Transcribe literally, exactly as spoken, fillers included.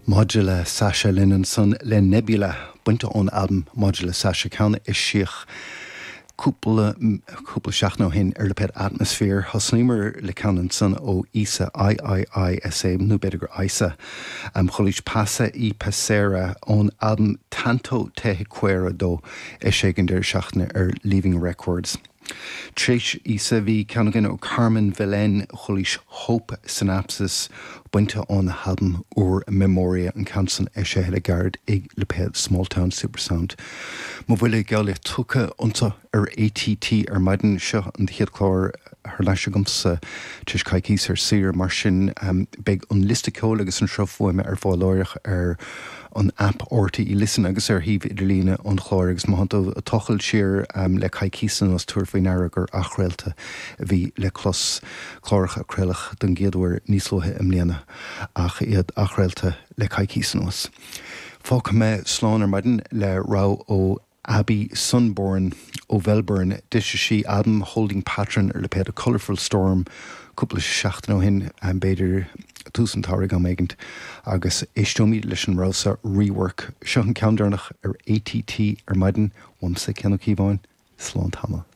Modular Sasha linn ansan le Nebula bainte ón albam Modular Sasha ceann a eisíodh cúpla cúpla seachtain ó shin ar lipéad Atmosphere thosnaíomar le ceann ansan ó Isa IIISA nó b'fhéidir gur Isa um, chualaís Pasa y Pasera ón albam Tanto Te Quiero dó eisithe an deireadh seachtaine ar Leaving Records. Tar éis Isa bhí ceann againn ó Carmen Vilén chualaís Hope Synapses bainte ón albam úr Memoria an ceann san eisithe le gairid ag lipéad Smalltown Supersound. Mo bhuille geall tugtha anseo ar ATT ar maidin seo an chéad chlár thar n-ais agamsa tar éis coicís ar saoire mar sin um, beidh an liosta ceoil agus an sruth fuaime ar fáil láithreach ar an app RTÉ Listen agus ar shuíomh idirlíne an chláir agus má tú ag tochailt siar um, le coicís anuas tabhair faoi deara gur athchraolta a bhí le clos cláracha a craoladh den gcéad uair níos luaithe i mbliana ach iad athchraolta le coicís anuas. Fágfaidh mé slán ar maidin le rogha ó Abby Sunborn ó Melbourne d'eisigh sí albam Holding Pattern ar lipéad a Colourful Storm cúpla seachtain ó shin b'fhéidir tús an tsamhraidh am éigin agus éisteoimid leis an rogha rework seo an ceann deireanach ar ATT ar maidin uaimse Cian Ó Cíobháin slán tamall.